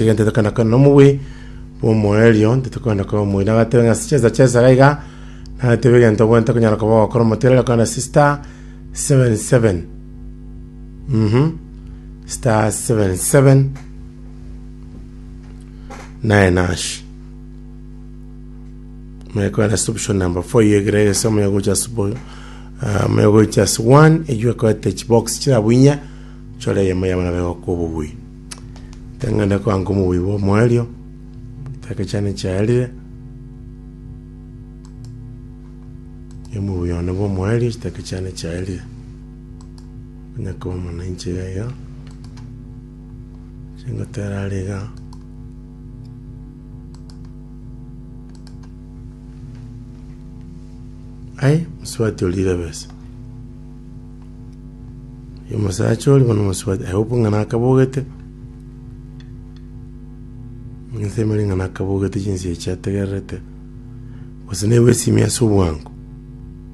Egento tokogenda kore nomobui bw'omoerio, titokogenda koba omobui. Nagatebe ng'a ase chinsa chia esaga iga, nagatebe egento obwenerete konyara koba ogokora omotienyi okogenda ase star 77 mh star 77 nine hash. Omanye kogenda ase option number 4 eywo egere ase omanye gocha ase bo omanye gocha ase 1 eywo ekoete chibox chirabwo inye, chore eyemo yabo nabo egokoa obobui. Teng'ende koanga omobui bw'omoerio, chidakika chiane chiaerire, omobui one bw'omoerio chidakika chiane chiaerire. Onye koba omonanchi iga iga, chingotera are igaa. Ai, mosubati orire ebesa. Omosacha oria bono omosubati, I hope ng'a nakabogete, nsemeri ng'a nakabogete chinsa echi ategererete, gose naigwe esimi ase obwango.